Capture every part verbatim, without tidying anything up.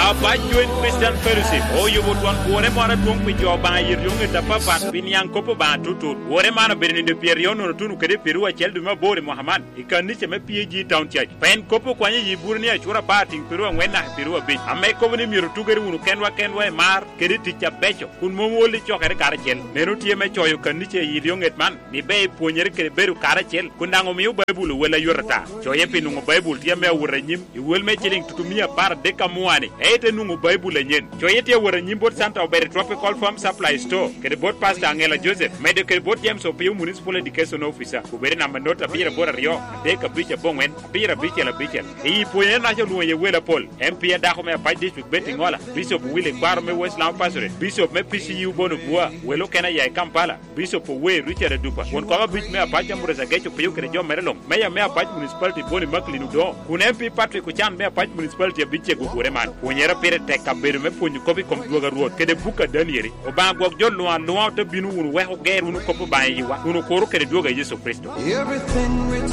Apac Joint Christian Fellowship oyubo twon kworre moro adwoŋ pi jo Obaŋa i ryoŋet apapat pi niaŋ kop Obaŋa tutut. Kworre man obedo nino pyeraryo nono tuno kede pyeraryo acel dwe me aboro i mwaka man i kanica me P A G Town Church. Pien kop okwanyo i Iburania acura apar tiŋ pyeraryo aŋwen naka pyeraryo abic, ame kobo ni myero otugere wunu kenwa kenwa i mar kede i tic abeco, kun mom wol i cokere karacel. Meno tye me coyo kanica i ryoŋet man, ni ber ipwonyere kede bedo karacel, kun daŋ omio Baibul owel ayot ata. Coye pi nwoŋo Baibul tye ame awot anyim i wel me ciliŋ tutumia apar adek amuani, ite nwoŋo Baibul anyen. Coye tye awot anyim bot Santa Obere Tropical Farm Supply Store, kede bot Pastor Angela Joseph, medo kede bot James Opio Municipal Education Officer, obed i namba not abiro aboro aryo, adek abic aboŋwen, abiro abicel abicel. I pwonyere naca olwoŋo iye wel apol, M P adako me Apac District Betty Ngola, Bishop Willie Kwaro me West Lamu Pastorate, Bishop me P C U Bono Bua, wel okene aya i Kampala, Bishop Owe Richard Adupa, won kom abic me Apac Ambrose Ageco Piyo kede jo mere luŋ, Meya me Apac Municipality Boni Macklin Odongo, kun M P Patrick Ocan me Apac Municipality abicce gugure man. Pwonyere pire tek kabedo me pwonyo kop i kom dwogo a Rwot kede buk a Danieli. Obaŋa gwok jo luŋ aluŋa ote bino wunu wek oger wunu kop Obaŋa i yiwa, kun okuro kede dwogo a Yecu Kricito.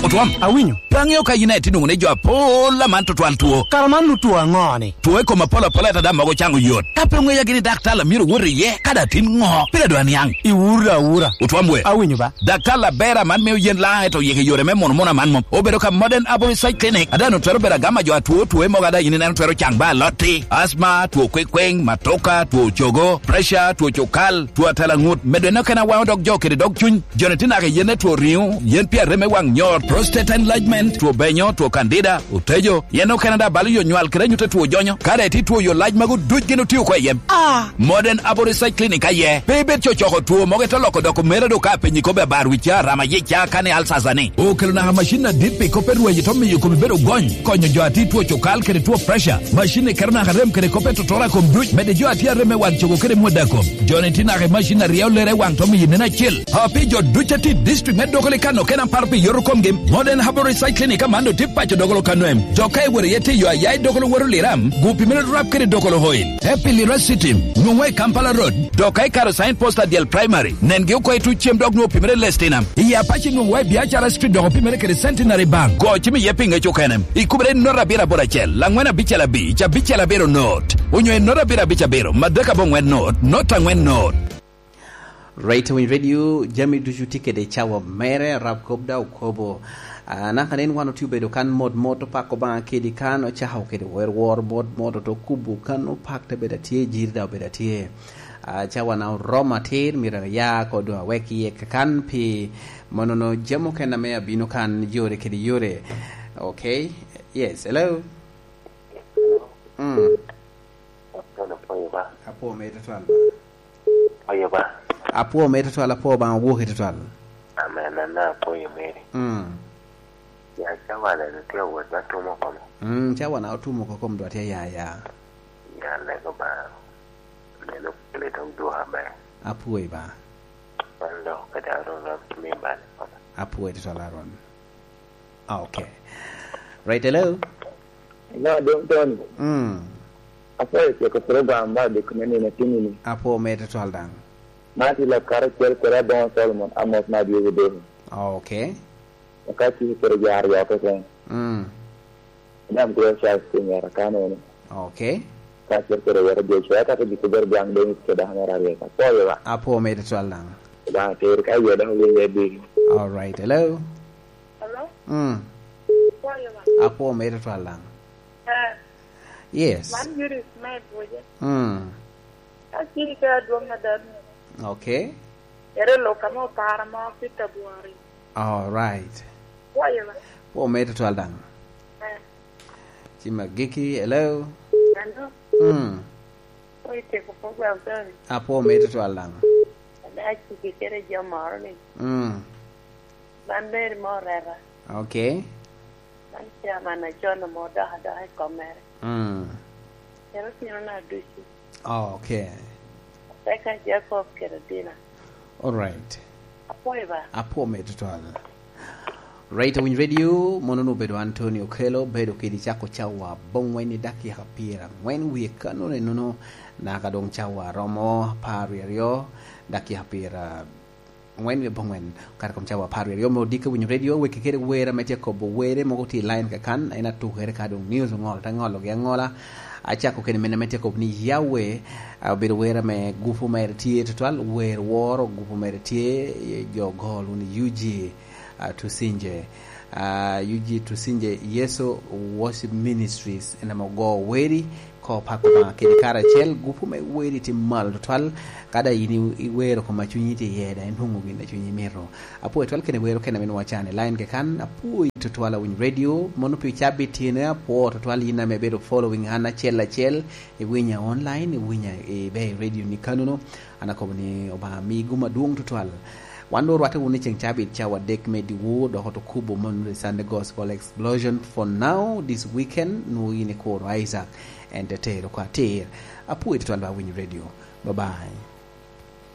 Otwam, awinyo. Pe aŋeo ka yin aye tye nwoŋo ni jo apol aman tutwal two. Kara man otwo aŋo-ni? Two i kom apol apol ata daŋ mogo caŋo yot. Ka pe oŋeya gini daktar a myero wot iye, kadi atin ŋo, pire dwa niaŋ. Iwura awura. Otwam we. Awinyo ba. Daktar aber aman mio yen laŋ eto yeke yore me mono mono aman mom. Obedo ka Modern Aboriginal Clinic, ada no twero bedo agama jo atwo two mogo ada yin ineno twero caŋ ba alotti, asma, two kwekweŋ, matoka, two cogo, pressure, two cukal, two atalaŋut, medo eno kena waŋo dog jo kede dog cuny. Joni tye naka i yen etwo riŋo, yen pi arem me waŋ nyot, prostate enlargement, two benyo, two candida, otejo, yen okene daŋ balo yo nywal kede anyut etwo jonyo. Kare tye two yo lac magu duc gin otio oko i yem. Ah! Modern Aboriginal Clinic aye. Pe ibed cocoko two mogo ite loko doko mere do ka apenyi kobbe abar wica, rama yica, kani alsasa ni. Okelo naka macin adit pi kop erwaji to miyo komi bedo gony, konyo jo ati two cokal kede two pressure. Macin ni keto naka rem kede kop etotora kom duc, mede jo ati arem me waŋ cogo kede mwada kom. Joni tye naka i macin aryo lere waŋ to miyo nen acel. A pi jo duc ati district me Dokoli kano kena paro pi yoto komgi, Modern Herbal Recycling i Kamando tye paco Dokolo kano em. Jo ka iwero iye tiyo aya i Dokolo woro Liram, gupi mene rap kede Dokolo oil. Te pi Lira City, nwoŋwa i Kampala Road, dok ka ikaro sign post adyel primary, nengi oko i tuc cem dok nwoŋo pimere lestina. I Apaci nwoŋwa i Biacara Street dok opimere kede Centenary Bank. Go cim iye pi ŋec okene. Ikubere i not abiro aboro acel, laŋwen abicel abic, abicel abiro not. Onyo i not abiro abic abiro, madek aboŋwen not, not aŋwen not. Right Wing Radio, jami ducu tye kede cawa mere, arab kop daŋ okobo. Ah, naka nen wan otye obedo kan mot mot, opako Obaŋa kedi kan, ocako kede wer wor mot mot, oto kubo kan, opak te bedo atye, jiri daŋ obedo atye. Ah, cawa na oromo atir, myero aya ko doŋ awek iye kakan pi monono jami okene ame abino kan yore kede yore. Okay? Yes, hello? Mm. Apwoyo ba. Apwo me tutwal ba. Apwoyo ba. Apwo me tutwal, apwo Obaŋa woki tutwal. Amen, ana apwoyo meri. Mm. Ya cawa na tye awot ba tumo komo. Mm, cawa na otumo ko kom dwa tye ya ya. Ya lego ba. Meno kele dong dwoka ba. Apwoyo ba. Wan lok kede Aron wan kimi ba. Apwoyo tutwal Aron. Ah, okay. Right, hello? Hello, Dong Tony. Mm. Apwoyo ceko program ba dek me nino tini ni. Apwo me tutwal daŋ. Ma ti lok kare cel kede Aboŋo Solomon, Amos ma Diogo Dong. Ah, okay. Ka ci kede jo aryo keken. Mm. Dam kede Charles Kinyera kano ni. Okay. Ka cel kede wero Joshua, ka kede kede Dong Dennis kede Hamera Riek. Apwoyo ba. Apwo me tutwal daŋ. Ba, ter ka yeda winyo di. All right. Hello? Hello? Mm. Apwoyo ba. Apwo me tutwal daŋ. Eh. Yes. Man Judith me Buje. Mm. Ka ciri ka adwoŋ adanu. Okay. Ere lok ame opara ma Peter Buhari. All right. Apwoyo ba. Apwo me tutwal daŋ. Eh. Ci magiki, hello? Hello? Mm. Apwoyo teko program tani. Apwo me tutwal daŋ. Ada aciki kede jo moro ni. Mm. Ban Mary mo reta. Okay. Ban chairman acon mo dok adok i komere. Mm. Kero tino na ducu. Oh, okay. Rebecca Jacob kede Dina. All right. Apwoyo ba. Apwo me tutwal. Right, Awiny Radio, mono nu bedo Anthony Okello, bedo kedi cako cawa bongwen i dakika pira ngwen wie kanone nono, naka dong cawa romo par aryo, dakika pira ngwen wie bongwen, kare kom cawa par aryo me odike Winyo Radio, weki kede wera me tye kobo were mogo tye line kakan, en atukere ka dong news ongol, te ngologi angola. Acako kede mene me tye kop ni Yahweh, ah, obedo wer ame gupu mere tye tutwal, wer woro gupu mere tye, eh, jo gol wunu U G, ah, Tusinje. Ah, U G Tusinje, Yeso Worship Ministries, en ame ogo weri, ko pako Obaŋa kede karacel, gupu me weri tye malo tutwal, kada in i-, iwero koma cunyi tye iye, da inwoŋo gin a cunyi mito. Apwoyo twal kene wero kene ame nwaca ni line ke kan, apwoyo tutwal awiny radio, mono pi cabit tyene, apwo tutwal yin ame bedo following an acel acel, iwinya online, iwinya i be i radio ni kanuno, an akobo ni Obaŋa mi gum adwoŋ tutwal. Wan do rwate wunu i ceŋ cabit cawa adek me diwor, dok otukubo mono the Sunday Gospel Explosion. For now, this weekend, nwo yin i kuro Isaac, en te tero kwa atir. Apwoyo tutwal ba winyo radio. Bye bye.